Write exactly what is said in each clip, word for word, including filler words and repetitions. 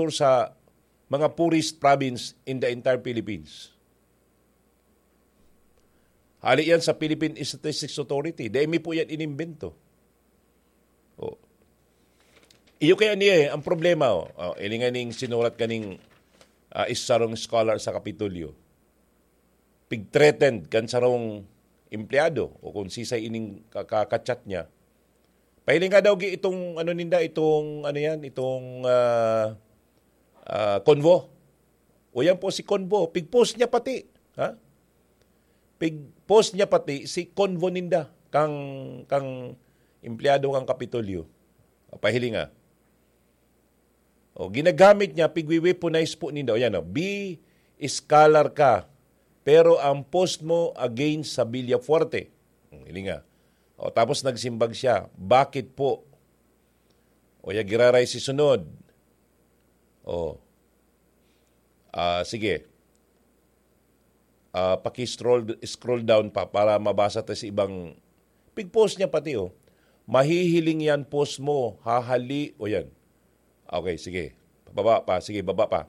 sa mga poorest province in the entire Philippines. Hali yan sa Philippine Statistics Authority. Dai mi po yan inimbento. Oh. Iyo kaya niya eh, ang problema, oh. Oh, ilingan ning sinurat kaning ah, isa rong scholar sa Kapitolyo. Pig-threatened kan sarong empleyado o kung sisay ining ka-, ka-, ka-chat niya. Pahiling nga daw gi-, itong ano ninda, itong ano yan, itong ah, ah, convo. O yan po si convo, pig-post niya pati, ha? Pig-post niya pati si convo ninda, kang, kang empleyado kang Kapitolyo. Pahiling nga. O, ginagamit niya, pigwi-weaponize po ninda. O yan, o, be scholar ka, pero ang post mo against sa Villafuerte. Hmm, hiling nga. O, tapos nagsimbag siya, "Bakit po?" O, ya giraray si sunod. O. Ah, sige. Ah, paki-scroll, scroll down pa para mabasa ta sa ibang pig-post niya pati, oh. "Mahihiling yan post mo, hahali," o yan. Okay, sige. Baba pa, sige, baba pa.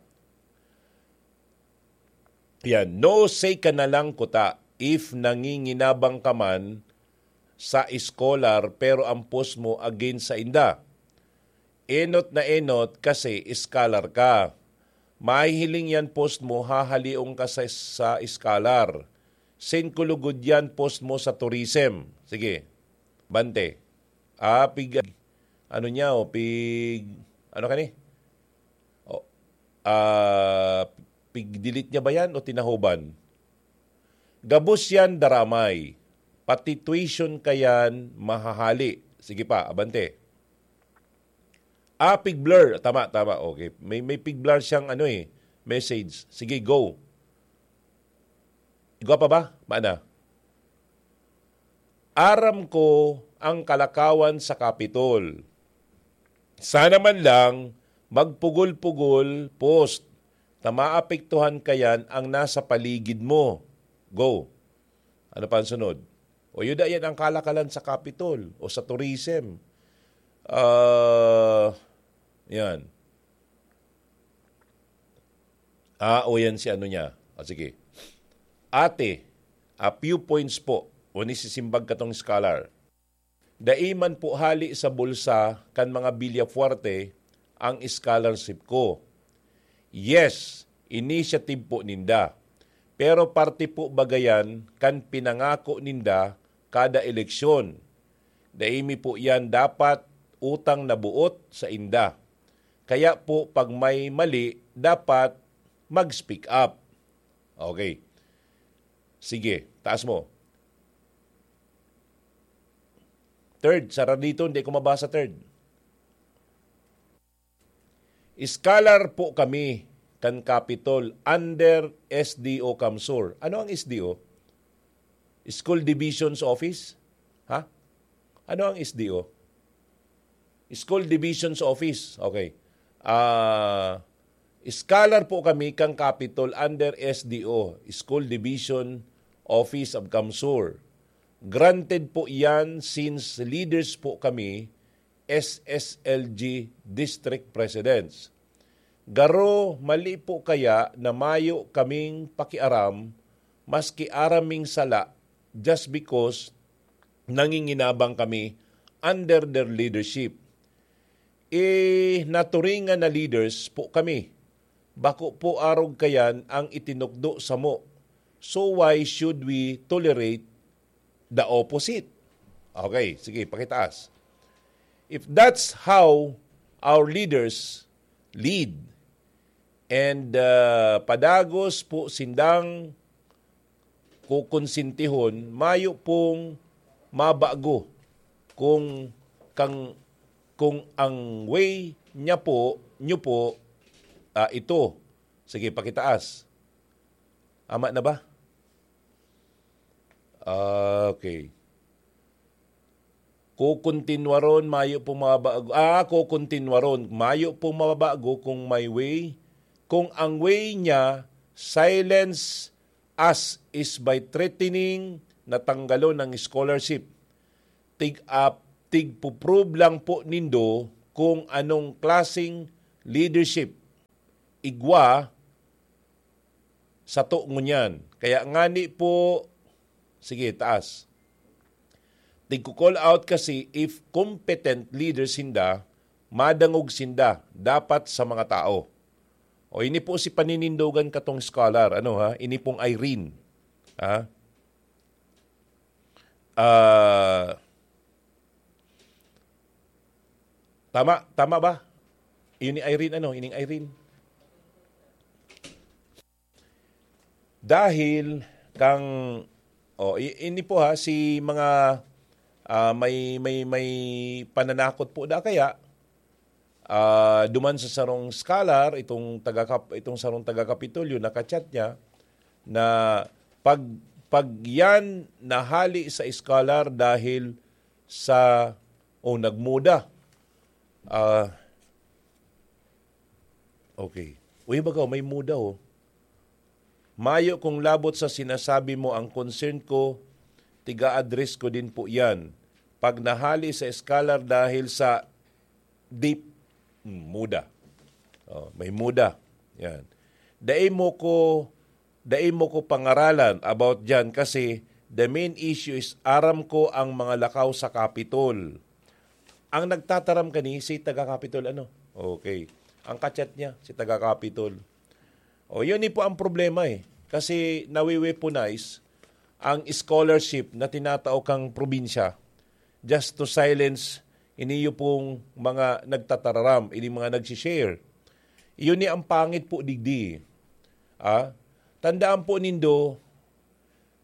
Yan, "No say ka na lang kuta if nanginginabang ka man sa scholar pero ang post mo against sa inda. Enot na enot kasi scholar ka. Mahihiling yan post mo, hahalion ka sa, sa scholar. Send ko lugod yan post mo sa tourism." Sige, bante. Ah, pig, ano niya, o pig, ano ka ni? O, ah, pig-delete niya ba yan o tinahoban? "Gabos yan, daramay. Pati tuition ka yan, mahahali." Sige pa, abante. Ah, pig-blur. Tama, tama. Okay. May, may pig-blur siyang ano eh, message. Sige, go. Igwa pa ba? Mana? "Aram ko ang kalakawan sa Kapitol. Sana man lang magpugol-pugol post na maapektuhan kayan ang nasa paligid mo." Go. Ano pa ang sunod? O yuda yan ang kalakalan sa Kapitol o sa tourism. Ah, yan. Ah, o yan si ano niya. Ah, sige. "Ate, a few points po." O ni sisimbag katong scholar. "Dai man po hali sa bulsa kan mga Villafuerte ang scholarship ko. Yes, initiative po ninda. Pero parte po bagayan kan pinangako ninda kada eleksyon. Dai mi po yan dapat utang na buot sa inda. Kaya po pag may mali, dapat mag-speak up." Okay. Sige, taas mo. Third, sara dito, hindi ko mabasa third. "Scholar po kami kan Capitol under S D O CamSur." Ano ang S D O? School Divisions Office? Ha? Ano ang S D O? School Divisions Office. Okay. Ah, scholar po kami kan Capitol under S D O, School Division Office of CamSur. Granted po yan since leaders po kami, S S L G District Presidents. Garo, mali po kaya na mayo kaming pakiaram, maski aram ming sala, just because nanginginabang kami under their leadership. Eh, naturingan na leaders po kami. Bako po arog kayan ang itinukdo samo. So why should we tolerate the opposite? Okay, sige, pakitaas. If that's how our leaders lead, and uh, padagos po sindang kukonsintihon, mayo pong mabago kung kang kung ang way niya po, niyo po, ah, ito. Sige, pakitaas. Ama na ba? Ah, okay. Kukontinwaron, mayo pong mababago. Ah, kukontinwaron, mayo pong mababago kung may way. Kung ang way niya, silence us is by threatening na tanggalon ang scholarship. Tig-, ah, tigpo-prove lang po nindo kung anong klaseng leadership igwa sato ngunyan. Kaya ngani po, sige, taas. Tigko-call out kasi if competent leaders sinda, madangog sinda dapat sa mga tao. O, ini po si paninindogan katong scholar, ano ha? Ini pong Irene. Ha? Ah, tama, tama ba? Ini Irene, ano? Ining Irene. Dahil kang, oh, i-, ini po ha, si mga, ah, may, may, may pananakot po da kaya, ah, duman sa sarong scholar, itong taga-Kap-, itong sarong taga-Kapitolyo, naka-chat niya na pag, pag yan nahali sa scholar dahil sa, oh, nagmuda. Ah, okay. Uy, baga, may muda, oh. Mayo kung labot sa sinasabi mo, ang concern ko, tiga-address ko din po yan. Pag nahali sa scholar dahil sa deep, hmm, muda. Oh, may muda. Yan. Dai mo ko, dai mo ko pangaralan about dyan kasi the main issue is aram ko ang mga lakaw sa Capitol. Ang nagtataram kani si taga Capitol, ano? Okay. Ang kachat niya, si taga Capitol. O, yun ni po ang problema eh. Kasi nawi-weaponize ang scholarship na tinatao kang probinsya just to silence iniyo pong mga nagtatararam, ini mga nagsishare. Yun ni ang pangit po digdi. Ah, tandaan po nindo,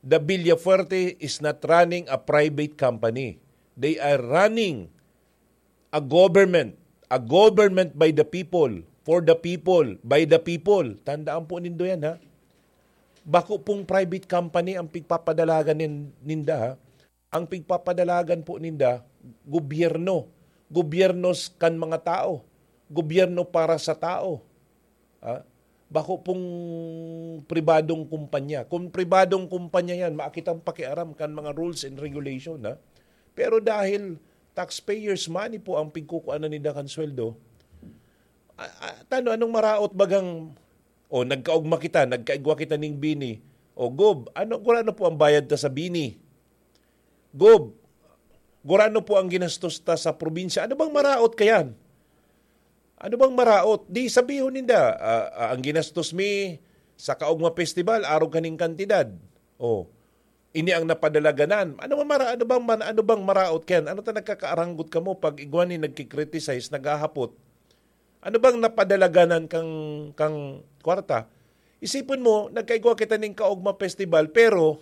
the Villafuerte is not running a private company. They are running a government, a government by the people, for the people, by the people. Tandaan po nindo yan, ha? Bako pong private company ang pigpapadalagan nin-, ninda, ha? Ang pigpapadalagan po ninda, gobyerno. Gobyerno s-, kan mga tao. Gobyerno para sa tao. Ah, bako pong pribadong kumpanya. Kung pribadong kumpanya yan, makitang pakiaram kan mga rules and regulation, ha? Pero dahil taxpayers' money po ang pigkukuanan ninda kan sweldo, a-, a-, tano, anong maraot bagang, o nagkaugma kita, nagkaigwa kita ning bini, o Gob, ano, gurano po ang bayad ta sa bini? Gob, gurano po ang ginastos ta sa probinsya? Ano bang maraot kayan? Ano bang maraot? Di sabihon ninda, ah, ah, ang ginastos mi sa Kaugma Festival, arog kaning kantidad. Oh, ini ang napadalaganan. Ano bang mara-, ano bang man-, ano bang maraot kayan? Ano ta nagkakaaranggot kamo pag igwa ni nagki-criticize, naghahapot? Ano bang napadalaganan kang, kang kwarta? Isipon mo, nagkaigwa kita ning Kaugma Festival, pero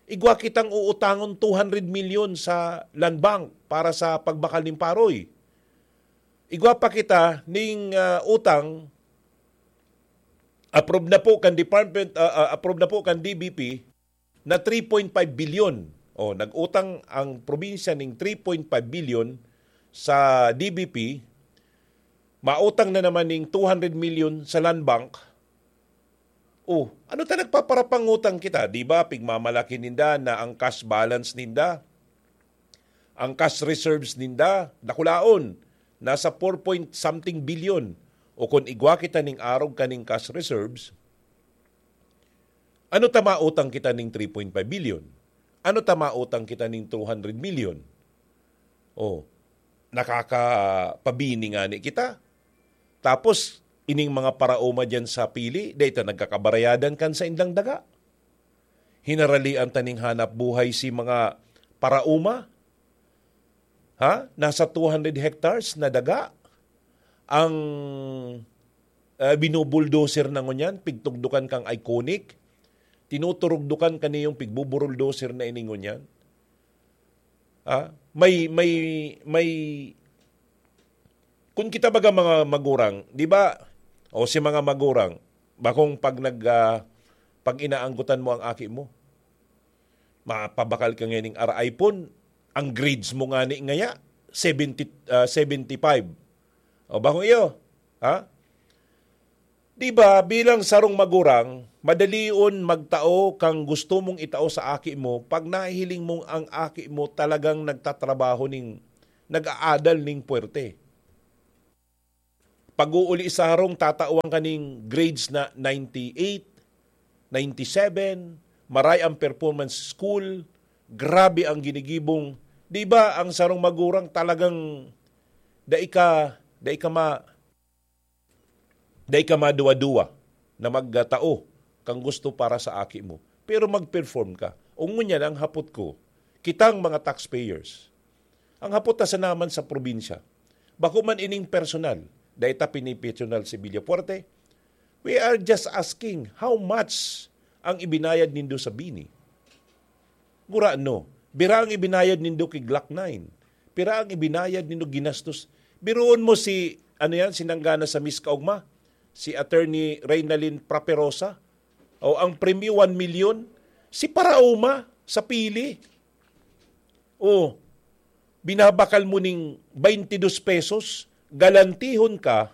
igwa kitang uutangon two hundred milyon sa Land Bank para sa pagbakal ning Paroy. Igwa pa kita ning, ah, utang, approve na po kan department, ah, ah, approve na po kan D B P na three point five billion. Oh, nag-utang ang probinsya ning three point five billion sa D B P, mautang na naman ning two hundred million sa Land Bank. Oh, ano ta nagpaparapangutang kita? Di ba, pigmamalaki ninda na ang cash balance ninda, ang cash reserves ninda, dakulaon, nasa four point something billion. O kung igwa kita ning arog kaning cash reserves, ano ta mautang kita ning three point five billion? Ano ta mautang kita ning two hundred million? Oh, nakakapabini ngani kita. Tapos, ining mga paraoma diyan sa pili, dai ta nagkakabarayadan kan saindang daga. Hinaralian ta ning hanap buhay si mga paraoma. Ha? Nasa two hundred hectares na daga ang, ah, binubuldoser na ngunyan, pigtugdukan kang Iconic. Tinuturugdukan kaniyong pigbuburuldoser na ini ngunyan. Ah, may, may, may, kung kita baga mga magurang, di ba? O si mga magurang, bakong pag nag, ah, pag inaanggutan mo ang aki mo, mapabakal ka nganing ar iPhone, ang grades mo ngani ngaya, seventy, ah, seventy-five. O, bakong iyo, ha? Di ba, bilang sarong magurang, madalion magtao kang gusto mong itao sa aki mo pag nahihiling mong ang aki mo talagang nagtatrabaho ning, nag-aadal ning puwerte. Pag-uuli sa harong, tatawan ka ning grades na ninety-eight, ninety-seven, maray ang performance school, grabe ang ginigibong. Di ba, ang sarong magurang talagang dai ka, dai ka ma-, dai ka maduwa-duwa na magtao kang gusto para sa aki mo. Pero mag-perform ka. O ngunyan, ang hapot ko, kitang mga taxpayers, ang hapot ta sana man sa probinsya, bako man ining personal, dai ta pinipersonal si Villafuerte, we are just asking how much ang ibinayad nindo sa bini. Gurano, bira ang ibinayad nindo ki Glock nine. Bira ang ibinayad nindo ginastos. Biruon mo si, ano yan, si nanggana sa Miss Kaugma, si Attorney Reynalyn Praperosa, o ang premyo one million, si Paraoma sa pili. O, binabakal mo ning twenty-dos pesos, galantihon ka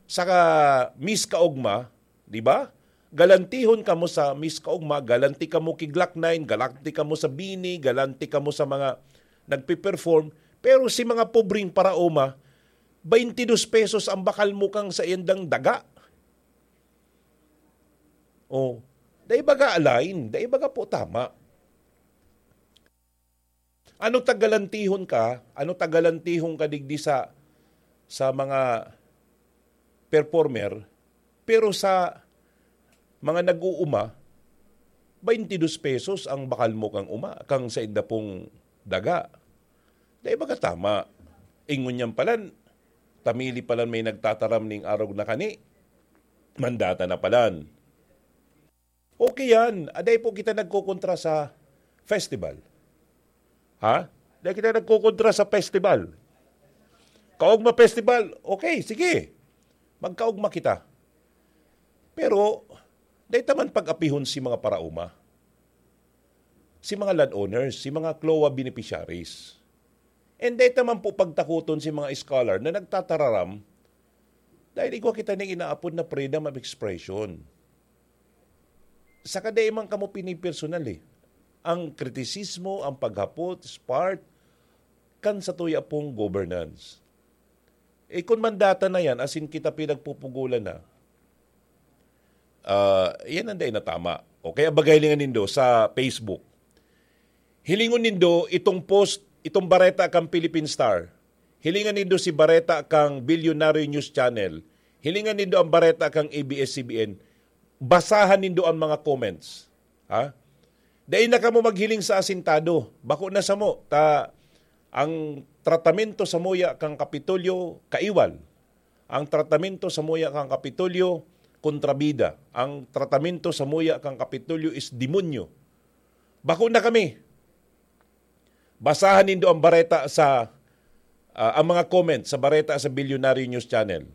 sa ka-, Miss Kaugma, di ba? Galantihon kamo sa Miss Kaugma, galanti kamo ki Glock nine, galanti kamo sa bini, galanti kamo sa mga nagpe-perform. Pero si mga pobreng Paraoma, twenty-dos pesos ang bakal mo kang sa iyandang daga. O, dai baga align, dai baga po tama. Ano ta galantihon ka? Ano ta galantihon ka digdi sa, sa mga performer? Pero sa mga nag-uuma, twenty-dos pesos ang bakal mo kang uma, kang sa inda pong daga. Dai baga tama? Ingon niyan palan, tamili palan may nagtataram ning arog na kani, mandata na palan. Okay yan. Aday po kita nagkukontra sa festival. Ha? Dai kita nagkukontra sa festival. Kaugma Festival, okay, sige. Magkaugma kita. Pero, dai ta man pag-apihon si mga parauma, si mga landowners, si mga CLOA beneficiaries. And dai ta man po pagtakoton si mga scholar na nagtatararam dahil igwa kita ning inaapod na freedom of expression. Saka dai man kamo pinipersonal eh. Ang kritisismo, ang paghapot, is part kan sa tuya pong governance. Eh, kung mandata na yan, as in kita pinagpupugulan na, ah, yan ang dai na tama. O kaya bagay lingan nindo sa Facebook. Hilingon nindo itong post, itong bareta kang Philippine Star. Hilingan nindo si bareta kang Bilyonaryo News Channel. Hilingan nindo ang bareta kang A B S C B N. Basahan nindo ang mga comments. Ha? Dai na kamo maghiling sa asintado. Bako na samo, ta ang tratamento samuya kang Kapitolyo kaiwal. Ang tratamento samuya kang Kapitolyo kontrabida. Ang tratamento samuya kang Kapitolyo is demonyo. Bako na kami. Basahan nindo ang bareta sa, ah, ang mga comment sa bareta sa Bilyonaryo News Channel.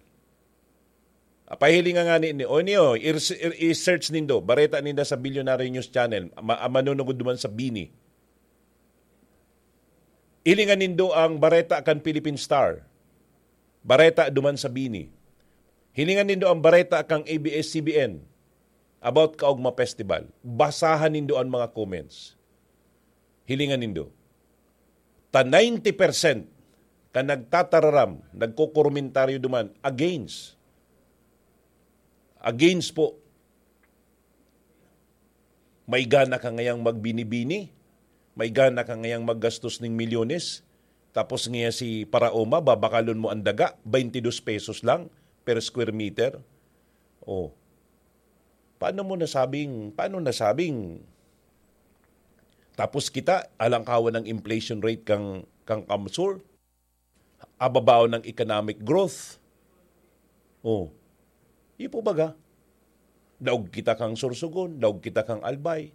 Ah, pahilinga nga ni, ni, o niyo, i-, i-, i-search nindo, bareta ninda sa Bilyonaryo News Channel, ma-, ah, manunugod duman sa bini. Hilingan nindo ang bareta kan Philippine Star. Bareta duman sa bini. Hilingan nindo ang bareta kang A B S C B N about Kaugma Festival. Basahan nindo ang mga comments. Hilingan nindo. Ta ninety percent kan nagtatararam, nagkokomentaryo duman against. Against po. May gana ka ngayang magbini-bini, may gana ka ngayang maggastos ning milyones, tapos ngaya si Paraoma, babakalon mo ang daga, twenty-dos pesos lang per square meter. Oh. Paano mo nasabing, paano nasabing? Tapos kita, alangkawan ng inflation rate kang, kang CamSur, ababaw ng economic growth. Oh. Iyo po baga? Daog kita kang Sorsogon, daog kita kang Albay.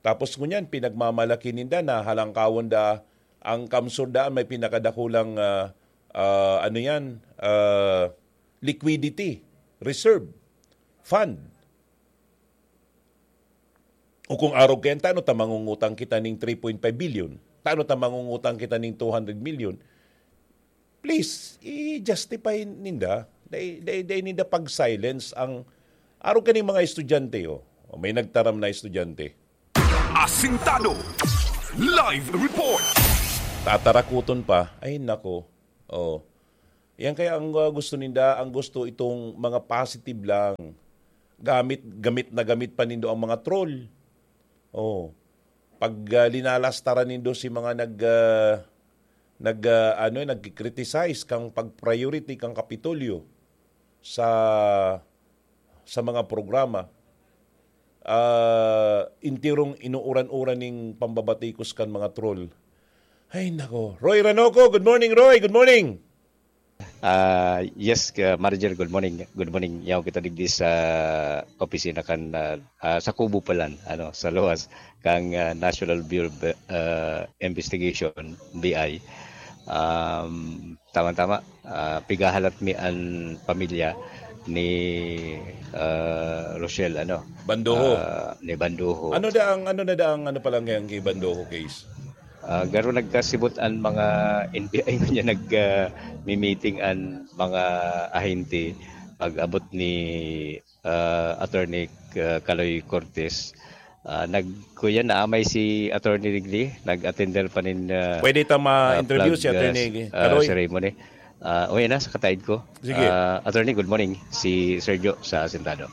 Tapos ngunyan, pinagmamalaki ninda na halangkawon da ang CamSur daan may pinakadakulang, ah, ah, ano yan, ah, liquidity reserve fund. O kung arog kayan, tano ta mangungutang kita ning three point five billion? Tano ta mangungutang kita ning two hundred million? Please, i-justify ninda. Dai, dai, dai ninda pag-silence ang arog kaning mga estudyante, oh. O, may nagtaram na estudyante. Asintado. Live report. Tatarakuton pa. Ay, nako. Oh. Yan kaya ang, ah, gusto ninda, ang gusto itong mga positive lang. Gamit, gamit na gamit pa nindo ang mga troll. Oh. Pag, ah, linalastaran nindo si mga nag, ah, nag, ah, ano, nagki-criticize kang pag-priority kang Kapitolyo sa, sa mga programa, ah, intirong inuuran-uran ning pambabatikos kan mga troll. Ay, nako. Roy Ranoco, good morning, Roy. Good morning. Ah, yes, ka-, Manager, good morning. Good morning. Yaw kita digdi sa opisina kan, ah, ah, sa kubo palan, ano, sa luwas kang, ah, National Bureau of, ah, Investigation, B I. Um, tama-tama, ah, pigahalat mi an pamilya ni, ah, Rochelle, ano, Bandoho. Ah, ni Bandoho. Ano da ang, ano na da ang, ano pa lang yan kay Bandoho case? Ah, garo nagkasibot an mga N B I ngunyan nag, ah, mi-meeting an mga ahente pag-abot ni, ah, Attorney, ah, Kaloy Cortez. Ah, nag-, kuya, naamay si Attorney Digdi, nag-attender pa nin, ah, Pwede ta ah, ma-interview flag, si ah, Attorney s-, ah, Kaloy? Ceremony. Ah, uy, na, sa kataid ko. Sige. Ah, Attorney, good morning. Si Sergio sa Asintado.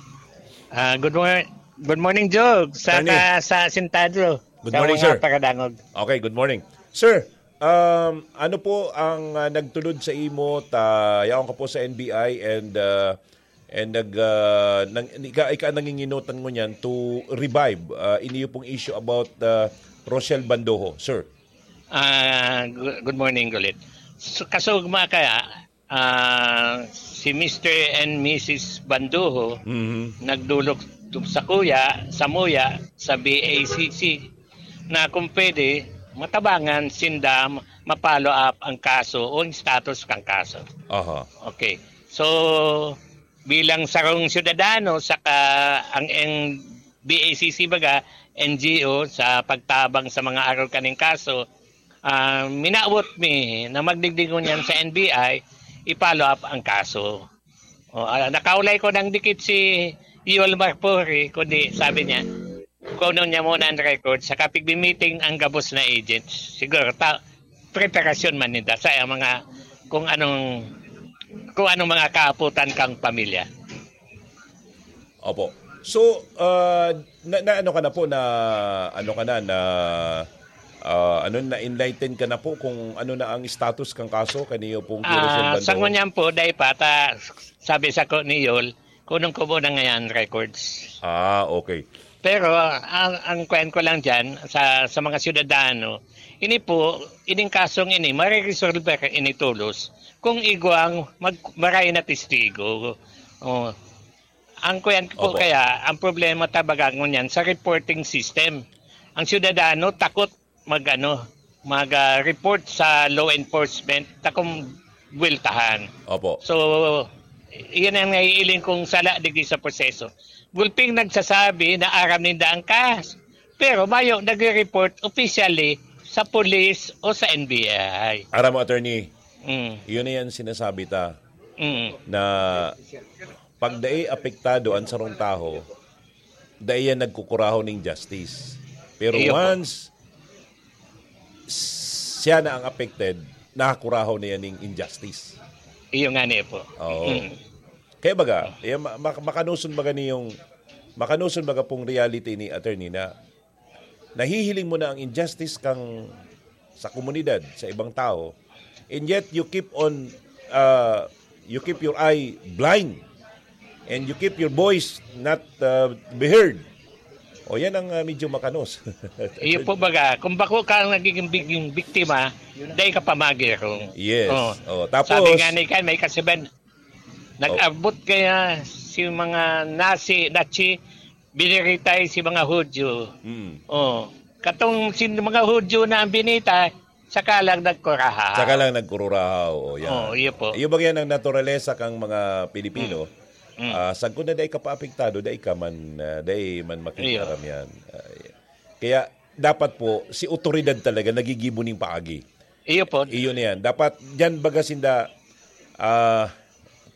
Ah, good mor-, good morning, Jog. Sa Attorney. ka-, sa Asintado. Good Sa morning, mga sir. taga-Dangog. Okay, good morning. Sir, um, ano po ang, ah, nagtulod sa imo ta yaon ka po sa N B I and, ah, and nag, ah, nang, ika, ika nanginginutan ngunyan to revive, ah, iniyo pong issue about, ah, Rochelle Bandoho, sir? Ah, gu-, good morning ulit. So, kasugma kaya, ah, si Mister and Missus Banduho Mhm. nagdolok tu-, sa kuya, sa muya, sa B A C C, na kung pwede, matabangan sinda ma-follow up ang kaso o ang status kang kaso. Aha. Okay. So, bilang sarong syudadano, saka ang, ang B A C C baga, N G O, sa pagtabang sa mga arog kaning kaso, ah, minawot mi na magdigdi ngunyan sa N B I, i-follow up ang kaso. O, ah, nakaulay ko nang dikit si Yul Marpuri, kundi sabi niya, kunon niya muna ang record, saka pigmi-meeting ang gabos na agents. Siguro, ta-, preparasyon man ninda sa mga, kung anong, kung anong mga kaaputan kang pamilya. Opo. So, ah, na, na ano ka na po, na ano ka na, na, ah, ano, na-enlighten ka na po kung ano na ang status kang kaso kaniyo pong Kiro Ah, Soldado? Sa ngunyan po, dai pa, ta, sabi sa ko ni Yol, kunong ko muna ngayon records. Ah, okay. Pero ang, ang kwan ko lang dyan, sa, sa mga syudadano, ini po, ining kasong ini, mariresolver ini tolos kung igwang mag-, maray na testigo. Oh. Ang kuyan po Opo. kaya, ang problema tabaga ngunyan sa reporting system. Ang syudadano takot mag, ano, mag, ah, report sa law enforcement, takong buweltahan. Opo. So, iyan ang naiiling kong sala digdi sa proseso. Gulping nagsasabi na aram ninda ang kas-, pero mayo nagre-report officially sa police o sa N B I. Aram mo, attorney, Mm. yun na yan sinasabi ta Mm. na pag dai apektado ang sarong taho, dai yan nagkukurahaw ning justice. Pero Iyo po. once siya na ang affected, nakakurahaw na yan ning injustice. Iyo nga niya po. Oo. Mm. Kaya baga, eh, ma-, ma-, makanoson baga niyong, makanoson baga pong reality ni attorney na nahihiling mo na ang injustice kang sa komunidad, sa ibang tao, and yet you keep on, uh, you keep your eye blind and you keep your voice not, uh, be heard. O, yan ang, uh, medyo makanos. Iyo po baga, kung bako ka ang nagiging big-, biktima, dai ka pamagirong. Yes. Oh. Oh, tapos Sabi nga ni Kan, may kasiban, Nag-abot kaya si mga Nazi, Nazi, biniritay si mga Hudyo. Mm. Oh, katong sin mga Hudyo na ang binitay, saka lang nagkurahaw. Saka lang nagkururahaw, oh, yan. Oh, iyo po. Iyo ba yan ang naturalesa kang mga Pilipino? Mm. Mm. Ah, sagkod na dai ka paapektado, dai ka man, ah, dai man Iyo. makikitaram yan. Ah, kaya dapat po, si otoridad talaga nagigibo ning paagi. Iyo po. Iyo na yan. Dapat, dyan baga sinda, ah,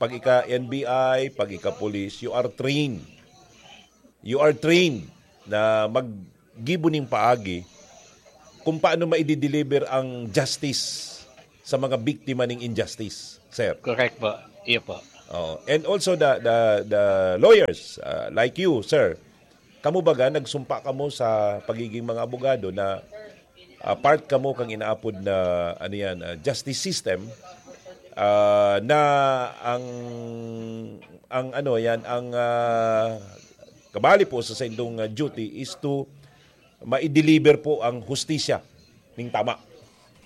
pag ika N B I, pag ika police, you are trained. You are trained na maggibo ning paagi kung paano maidi-deliver ang justice sa mga biktima ning injustice. sir. Correct po. Iyo po. Oh, and also the the the lawyers, uh, like you, sir. Kamo baga nagsumpa kamo sa pagiging mga abogado na, ah, part kamo kang inaapod na, ano yan, ah, justice system, ah, na ang, ang ano yan, ang, ah, kabali po sa saindong, ah, duty is to ma-deliver po ang hustisya ning tama.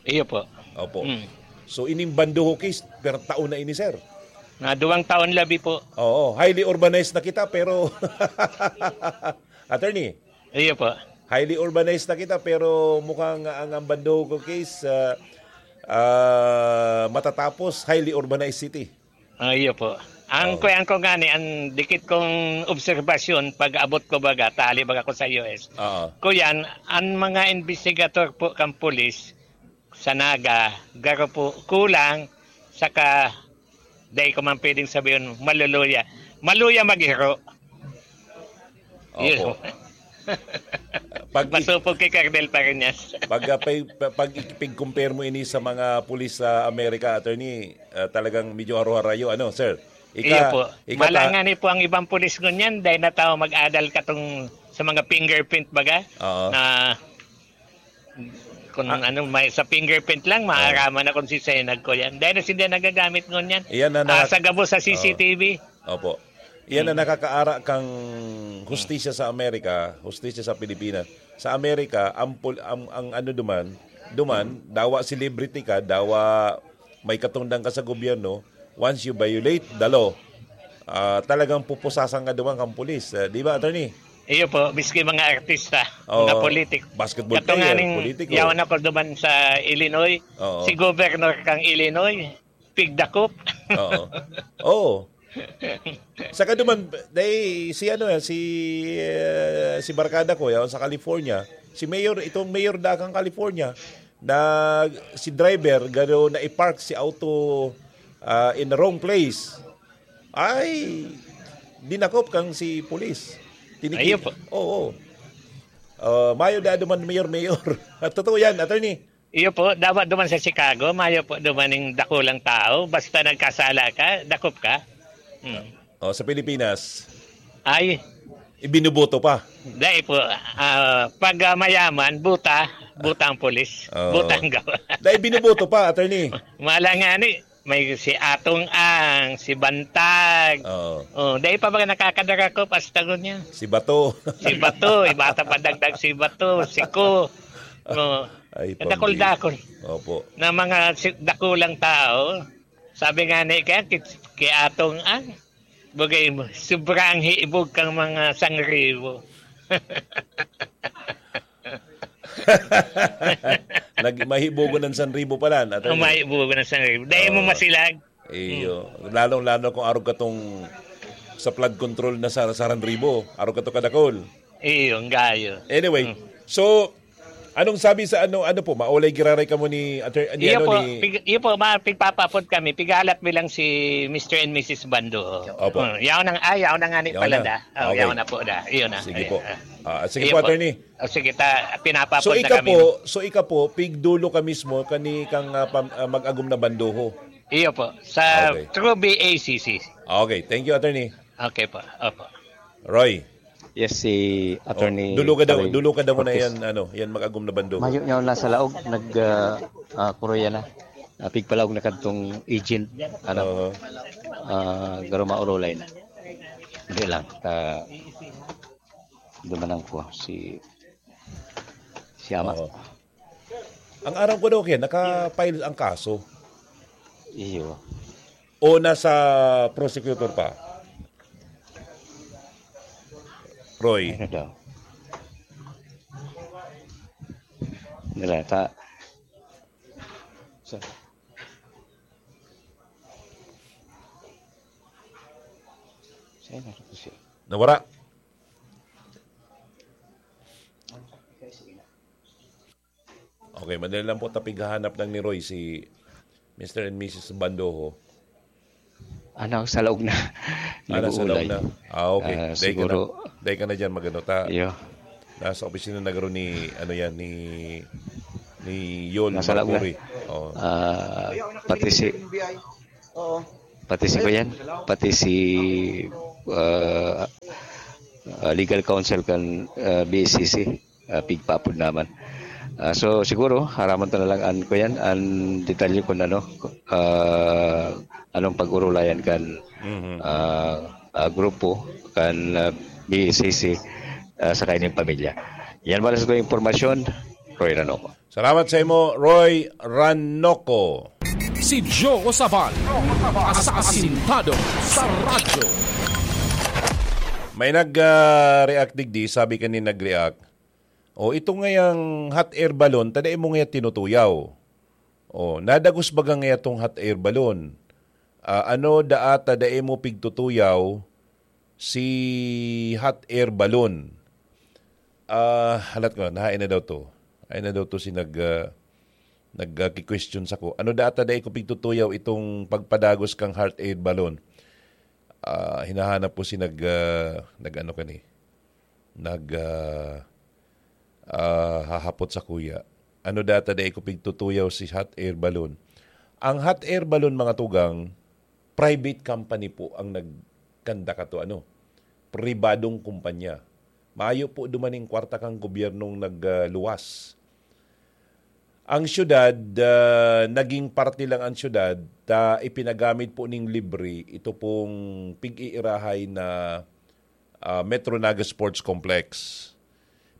Iyo po. Opo. Mm. So, ining Bandoho case, per taon na ini, sir. Na duwang taon labi po. Oo, highly urbanized na kita, pero attorney, Iyo po. Highly urbanized na kita, pero mukhang ang, ang Bandoho case, ah, ah, matatapos highly urbanized city. Ah, iyo po. Ang Oo. kuyan ko ngani, ang dikit kong obserbasyon pag-abot ko baga, tali baga ko sa U S. Oo. Kuyan, ang mga investigator po kang pulis sa Naga, garo po kulang, saka dai ko man pwedeng sabihin, maluluya. Maluya maghiro. Opo. Iyo. Pag i- Masupog kay Colonel Pariñas. Pag, ah, pag, pag ipig-compare mo ini sa mga pulis sa Amerika, attorney, ah, talagang medyo haro-harayo, ano, sir? Ika-, Iyo po. ika ta- Malangan ni po ang ibang pulis ngunyan, dahil na tao mag-adal katong sa mga fingerprint baga, Oo. na kung Ah. ano, may sa fingerprint lang, Oo. maaraman na kung si Senag ko yan. Dahil na sila nagagamit ngunyan. Iyan na Ah, na- sa gabos sa Oo. C C T V. Opo. Iyan na Mm. nakakaara kang hustisya sa Amerika, hustisya sa Pilipinas. Sa Amerika, ang pul-, ang, ang ano duman, duman, dawa celebrity ka, dawa may katungdan ka sa gobyerno, once you violate the law, ah, talagang pupusasan ka duman kang pulis. Ah, di ba, attorney? Iyo po, miski mga artista, Oo. mga politik. Basketball Kato player, nga ning politiko. yaon ako duman sa Illinois, Oo. si Governor kang Illinois, pigdakop. Oo. Oo. Saka duman, dai, si ano, si, eh, si barkada ko, yaon sa California, si Mayor, itong Mayor da kang California, na si driver, garo na i-park si auto, ah, in the wrong place. Ay, dinakop kang si pulis. Tiniki- Ayun po. Oo. Ah, mayo da duman mayor-mayor. Totoo yan, attorney. Iyo po, dapat duman sa Chicago, mayo po duman ning dakulang tao. Basta nagkasala ka, dakop ka. Hmm. Oh, sa Pilipinas, Ay, ibinuboto pa. dai po. Ah, pag, ah, mayaman, buta, buta ang pulis. Oo. Buta ang gawa. Dai binuboto pa, attorney. Mala nga ni, may si Atong Ang, si Bantag. Oo. Oh, dai pa ba nakakadarakop hasta ngunyan? Si Bato. Si Bato, iba ta pa dagdag si Bato, si Ko. Oh, Ay, dakul-dakul. Opo. Na mga si-, dakulang tao. Sabi nga ni, kaya ki-, ki Atong Ang, bagay mo, sobrang hiibog kang mga sangribo. Nag-, mahibogon ng sanribo pala, attorney. Ang mahibogon ng sanribo. Dahil mo Oo. masilag. Iyo. Hmm. Lalong-lalo kung arog katong sa flood control na sa, sa Sanribo. Arog kato kadakol. Iyo, ang gayo. Anyway, Hmm. so, anong sabi sa ano, ano po, maulay giraray kamo ni Attorney, ni Iyo ano, po, ni pig-, iyo po, ma-, pigpapapod kami. Pigalat mi lang si Mister and Missus Bando. Opo. Hmm, yaon ang, ay, yaon na nga ni Yaon pala na. da. Oh, Okay. yaon na po da. Iyo na. Sige Ay, po. ah. Ah, sige Iyo po, po. attorney. Oh, sige, ta-, pinapapod So, na ika kami. po, so, ika po, pigdulo ka mismo, kani kang, ah, pam-, ah, mag-agom na bandoho. Iyo po, sa Okay. through B A C C. Okay, thank you, attorney. Okay po, opo. Roy. Yes, si Attorney Oh, dulo ka daw, Roy dulo ka daw muna Cortez. yan, ano, yan mag-agom na bandoho. Mayo niya wala sa laog, nag, ah, ah, kuroya na. Ah, pigpalaog na kadtong agent, ano, Oo. ah, garo maurulay na. Hindi lang, ta-, dumanang ko si, si Ama. Oo. Ang aram ko daw kaya, naka-file ang kaso. Iyo. O nasa prosecutor pa? Roy. Ano daw? Nila, ta-, sa-, saan na ito siya? Nawara. Okay, madali lang po, tapighahanap lang ni Roy si Mister and Missus Bandoho. Ano, sa laog na. Ah, nasa laog Nag-uulay. na. Ah, okay. Ah, Dahil ka siguro, na, dahil ka na dyan, magano ta. Iyo. Nasa opisina na garo ni, ano yan, ni, ni Yol Nasa laog na. Marcuri. Oo. Ah, pati si Oo. Pati si Kuyan, pati si, ah, ah, legal counsel kan, ah, B S C C, ah, pigpaapod naman. Ah, so, siguro, haraman ta na lang an, Kuyan, an detalye kun ano, ah, anong pag-urulayan kan, Mhm. ah, ah, grupo kan, ah, B S C C, ah, sa kaining pamilya. Yan pala sa atong impormasyon, Roy Ranoco. Salamat sa imo, Roy Ranoco. Si Joe Sabal, asasintado sa radyo. May nag, ah, react digdi, sabi kanin nag-react, "O, ito ngayang hot air balloon, ta dai mo ngaya tinutuyaw. O, nadagos baga ngaya tong hot air balloon? Ah, ano daa ta dai mo pigtutuyaw si hot air balloon?" Ah, halat ko, nahain na daw to. Ay na daw to si nag, ah, nag, ah, ki-question sako. Ano daa ta dai ko pigtutuyaw itong pagpadagos kang hot air balloon? Ah, hinahanap ko si nag, ah, nag-ano kani? Nag, ah, ah, hahapot sakuya. Ano daa ta dai ko pigtutuyaw si hot air balloon? Ang hot air balloon, mga tugang, private company po ang nagkanda kato, ano, pribadong kumpanya. Mayo po dumaning kwarta kang gobyernong nagluwas. Ang syudad, ah, naging parte lang ang syudad, ta ipinagamit po ning libre ito pong pig-iirahay na, ah, Metro Naga Sports Complex.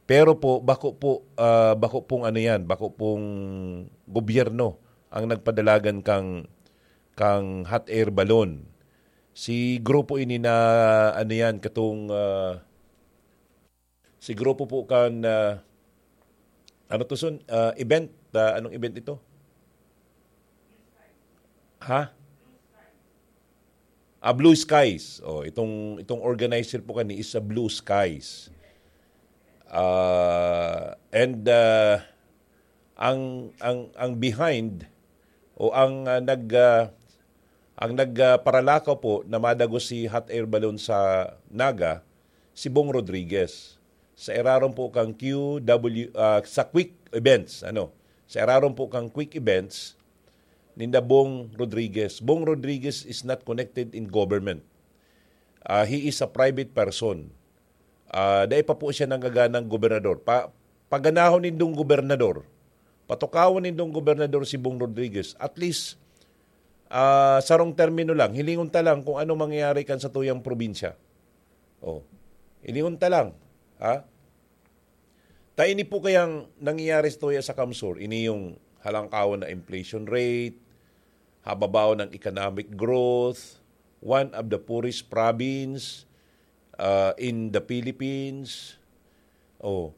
Pero po, bako po, ah, bako pong ano yan, bako pong gobyerno ang nagpadalagan kang, kang hot air balloon. Si grupo ini na, ano yan, katong, ah, si grupo po kan, ah, ano to, Son? Ah, event? Ah, anong event ito? Ha? Ah, Blue Skies. Oh, itong, itong organizer po kani is sa Blue Skies. Ah, and, ah, ang, ang, ang behind o ang, ah, nag, ah, ang nag, ah, paralakaw po na madagos si hot air balloon sa Naga, si Bong Rodriguez. Sa irarom po kang Q W, ah, sa Quick Events, ano? Sa irarom po kang Quick Events, ninda Bong Rodriguez. Bong Rodriguez is not connected in government. Ah, he is a private person. Ah, dai pa po siya nanggaganang gobernador. Pa-, paganahon nindong gobernador. Patukawon nindong gobernador si Bong Rodriguez. At least, ah, sarong termino lang. Hilingon ta lang kung ano mangyayari kan satuyang probinsya. Oh. Hilingon ta lang. Ha? Ta ini po kayang nangyayari sa tuya sa Kamsur, ini yung halangkawan na inflation rate, hababaw ng economic growth, one of the poorest province, uh, in the Philippines. Oh,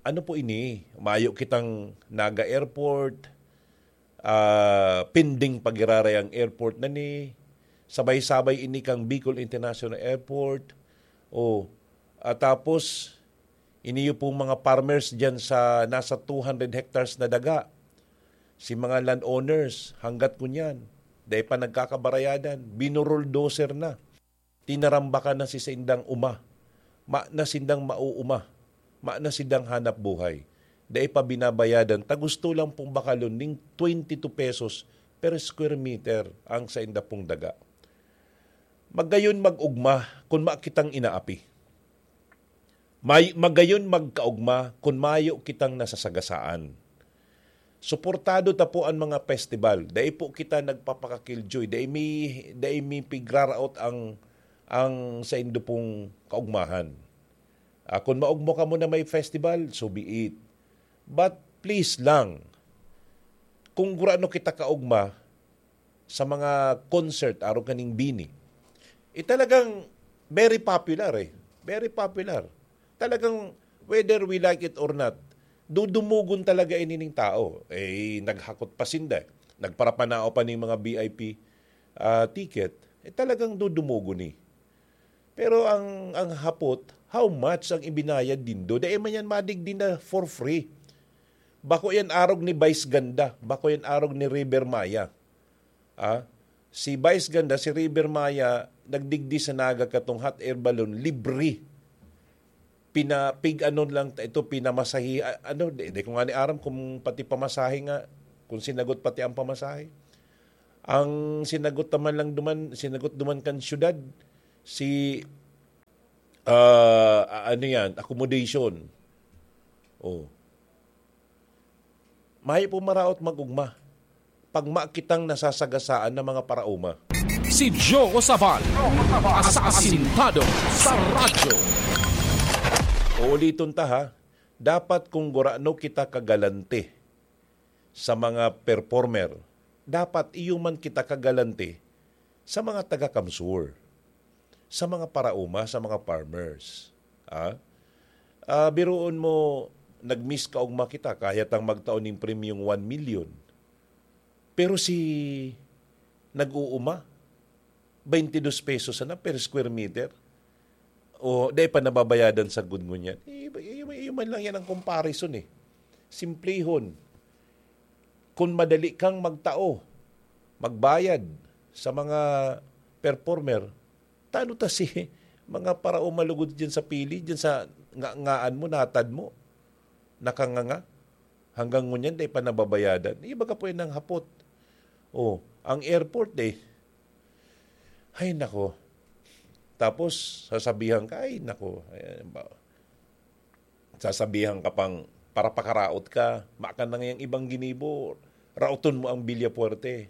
ano po ini? Mayo kitang Naga Airport, ah, pending pagiraray ang airport na ni, sabay-sabay ini kang Bicol International Airport. Oh, at tapos, iniyo pong mga farmers dyan sa nasa two hundred hectares na daga. Si mga landowners, hanggat kunyan, dai pa nagkakabarayadan, binuruldoser na. Tinarambakan na si saindang uma. Ma na sindang mauuma. Ma na sindang hanap buhay. Dai pa binabayadan, ta gusto lang pong bakalon ning twenty two pesos per square meter ang sainda pong daga. Magayon mag-ugma kun ma kitang inaapi. May, magayon magkaugma kun mayo kitang nasasagasaan. Suportado ta po an mga festival. Dai po kita nagpapaka-killjoy. Dai mi, dai mi pigraraot ang, ang saindo pong kaugmahan. Ah, kun maugma kamo na may festival, so be it. But please lang, kung gurano kita kaugma sa mga concert, arog kaning BINI, eh, talagang very popular eh. Very popular. Talagang, whether we like it or not, dudumugon talaga ini ning tao. Eh, naghakot pa sinda eh. Nagparapanao pa ning mga V I P, ah, ticket. Eh, talagang dudumugon ni. Pero ang, ang hapot, how much ang ibinayad nindo? Dai man yan madigdi na for free. Bako yan arog ni Vice Ganda. Bako yan arog ni River Maya. Ah, si Vice Ganda, si River Maya, nagdigdi sa Naga katong hot air balloon, libre. Pina-, pig-ano lang ta-, ito, pinamasahe, a-, ano, di, di ko nga ni aram kung pati pamasahe nga, kung sinagot pati ang pamasahe. Ang sinagot naman lang duman, sinagot duman kan syudad, si, ah, ano yan, accommodation. Oh. Mayo po maraot mag-ugma. Pag makitang nasasagasaan ng mga paraoma. Si Joe Sabal, asasintado sa radyo. Uuliton ta ha, dapat kung gurano kita kagalante sa mga performer, dapat iyo man kita kagalante sa mga taga-Kamsur, sa mga paraoma, sa mga farmers. Ah? Ah, biruon mo, nag-miss kaugma kita, kaya tang magtao ning premyong one million. Pero si nag-uuma, twenty-dos pesos sana per square meter. O, dai pa nababayadan sa gud ngunyan. Iyo, iyo, iyo man lang yan ang comparison eh. Simplihon. Kung madali kang magtao, magbayad sa mga performer, tano ta si mga paraoma lugod dyan sa pili, dyan sa nga-, ngaan mo, natad mo, nakanganga, hanggang ngunyan, dai pa nababayadan. Iba ka po yun ng hapot. Oh, ang airport eh. Ay, nako. Tapos, sasabihan ka, ay, nako. Ayan, ba? Sasabihan ka pang, para pakaraot ka, maka na ngayang ibang ginibo, raoton mo ang Villafuerte.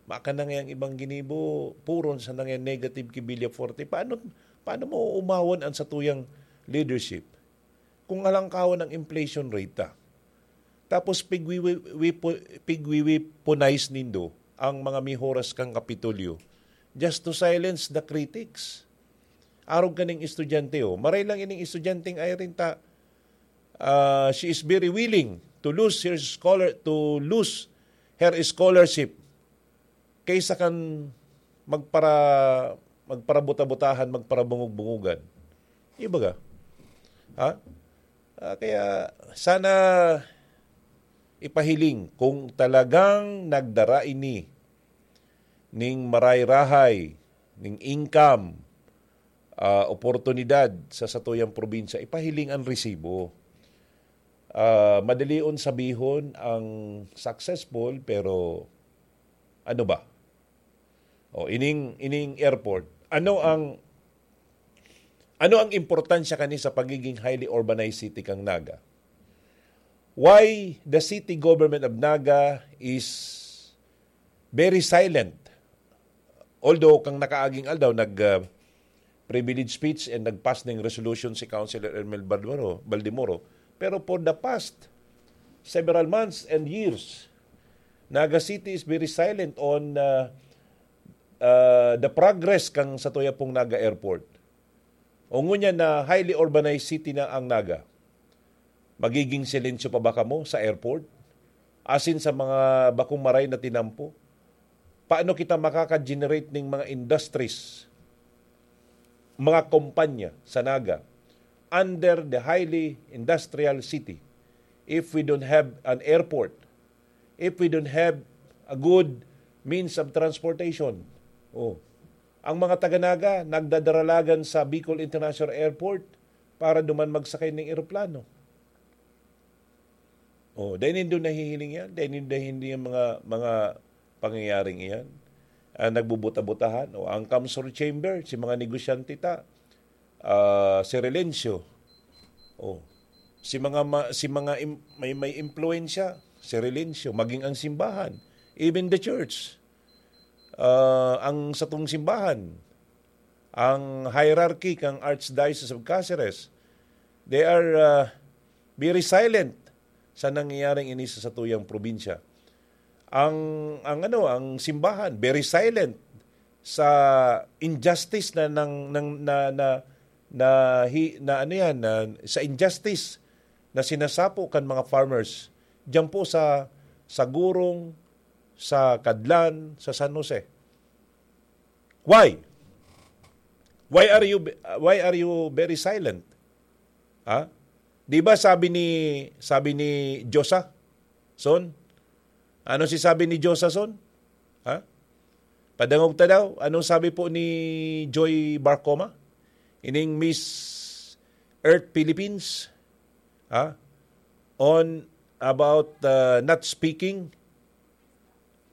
Maka na ngayang ibang ginibo, puron sa nangyan negative ki Villafuerte. Paano, paano mo umawan ang satuyang leadership? Kung alangkawan ang inflation rate ta. Tapos pigwiwi-, wipo-, pigwiwiponize nindo ang mga mihoras kang Kapitolyo just to silence the critics. Arog kaning estudyante, oh. Maray lang ining estudyanteng Irene ta, ah, she is very willing to lose her scholar-, to lose her scholarship kaysa kan magpara-, magparabuta-butahan, magparabungog-bungogan. Ibaga. Ha? Ah, kaya sana ipahiling kung talagang nagdara ini ning maray-rahay, ning income, ah, oportunidad sa satuyang probinsya, ipahiling ang resibo. Ah, madalion sabihon ang successful, pero ano ba? O, ining, ining airport, ano ang, ano ang importansya kani sa pagiging highly urbanized city kang Naga? Why the city government of Naga is very silent? Although, kang nakaaging aldaw, nag, ah, privilege speech and nag-pass ning resolution si Councilor Ermel Baldemoro, Baldemoro. Pero for the past several months and years, Naga City is very silent on, ah, ah, the progress kang satuya pong Naga Airport. O ngunyan na highly urbanized city na ang Naga, magiging silensyo pa ba kamo sa airport? Asin sa mga bakong maray na tinampo? Paano kita makaka-generate ning mga industries, mga kumpanya sa Naga under the highly industrial city if we don't have an airport, if we don't have a good means of transportation? Oh. Ang mga taga-Naga nagdadaralagan sa Bicol International Airport para duman magsakay ng eroplano. Oh, dai nindo nahihiling yan? Dai nindo nahihiling ang mga, mga pangyayaring iyan? Ah, nagbubuta-butahan? O ang Kamsur Chamber, si mga negosyante ta, ah, si Relencio. Oh, si mga ma-, si mga im-, may, may impluwensya, si Relencio, maging ang simbahan, even the church. Ah, ang satong simbahan, ang hierarchy kang Archdiocese of Caceres, they are, ah, very silent sa nangyayaring ini sa satuyang probinsya. Ang, ang ano, ang simbahan, very silent sa injustice na nang, nang, na, na, na, hi-, na ano yan, na, sa injustice na sinasapo kan mga farmers diyan po sa, sa Gurong, sa Kadlan, sa San Jose. Why? Why are you, why are you very silent? Ha? Di ba sabi ni, sabi ni Josa, son? Ano si sabi ni Josa, son? Ha? Padangog ta daw. Anong sabi po ni Joy Barcoma? Ining Miss Earth Philippines? Ha? On about, uh, not speaking?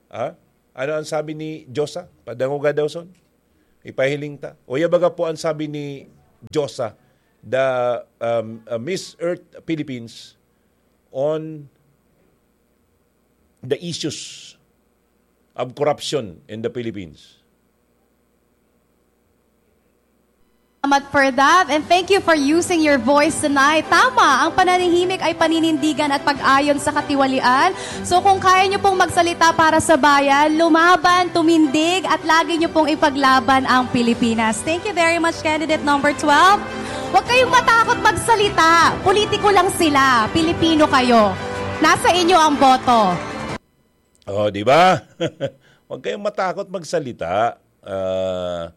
Ha? Ano ang sabi ni Josa? Padangoga daw son? Ipahiling ta. O ya baga po ang sabi ni Josa, the, um, uh, Miss Earth Philippines on the issues of corruption in the Philippines. Salamat for that, and thank you for using your voice tonight. Tama, ang pananahimik ay paninindigan at pag-ayon sa katiwalian. So kung kaya nyo pong magsalita para sa bayan, lumaban, tumindig, at lagi nyo pong ipaglaban ang Pilipinas. Thank you very much, candidate number twelve. Huwag kayong matakot magsalita. Politiko lang sila. Pilipino kayo. Nasa inyo ang boto. Oh, di ba? Huwag kayong matakot magsalita. Ah,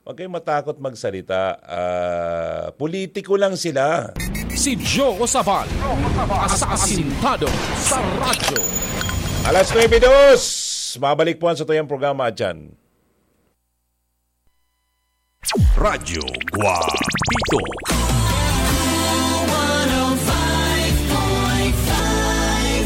huwag kayong matakot magsalita. Ah, politiko lang sila. Si Joe Sabal, asasintado sa radyo. Alas nuebe dos. Mabalik po ang satuyang programa dyan. Radyo Guapito.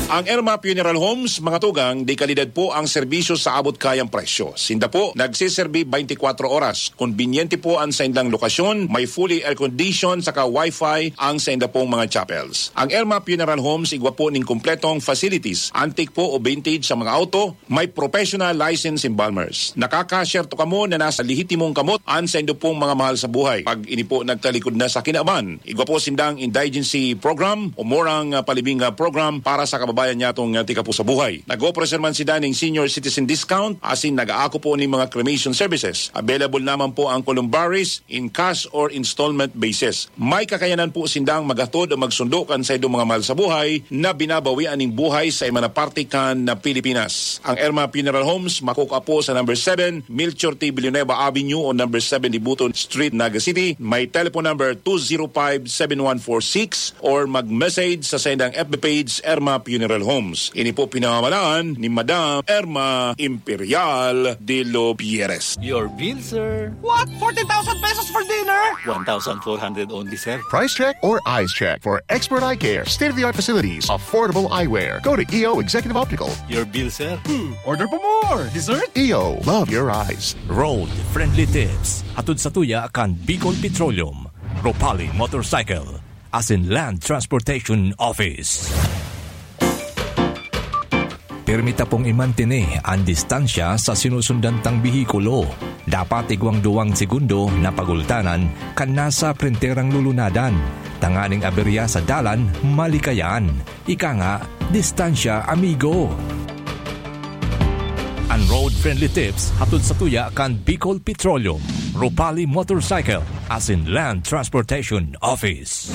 Ang Irma Funeral Homes, mga tugang, de kalidad po ang serbisyo sa abot kayang presyo. Sinda po nagseserbi twenty-four oras. Konbinyente po ang saindang lokasyon, may fully air-conditioned saka wifi ang sainda pong mga chapels. Ang Irma Funeral Homes igwa po ning kompletong facilities, antique po o vintage sa mga auto, may professional license embalmers. Nakaka-share to kamo na nasa lehitimong kamot an saindo pong mga mahal sa buhay. Pag ini po nagtalikod na sa kinaban, igwa po sindang indigency program o morang ah, palibing ah, program para sa kababayan niya tong ah, tika po sa buhay. Nag-operasyon man sila ning senior citizen discount asin nag-aako po ning mga cremation services. Available naman po ang columbaries in cash or installment basis. May kakayanan po sindang maghatod o magsundo kan saindong mga mahal sa buhay na binabawian ning buhay sa iba na parte kan na Pilipinas. Ang Irma Funeral Homes makukua po sa number seven, Melchor T. Villanueva Avenue o number seven Dibuton Street, Naga City. May telephone number two zero five seven one four six or mag-message sa saindang F B page, Irma Funeral Homes. Ini po pinamamalaan ni Madam Irma Imperial de los Pierres. Your bill, sir. What? Fourteen thousand pesos for dinner? One thousand four hundred only, sir. Price check or eyes check for expert eye care, state-of-the-art facilities, affordable eyewear. Go to E O Executive Optical. Your bill, sir. Order pa more! Dessert? E O, love your eyes. Road Friendly Tips. Hatod sa tuya kan Bicol Petroleum, Ropali Motorcycle, asin Land Transportation Office. Pirmi ta pong imantini an distansya sa sinusundan tang behikulo. Dapat igwang duwang segundo na pagultanan kan nasa printerang lulunadan, tanganing aberya sa dalan malikayan. Ika nga, distansya, amigo. An Road Friendly Tips hatod sa tuya kan Bicol Petroleum, Ropali Motorcycle, asin Land Transportation Office.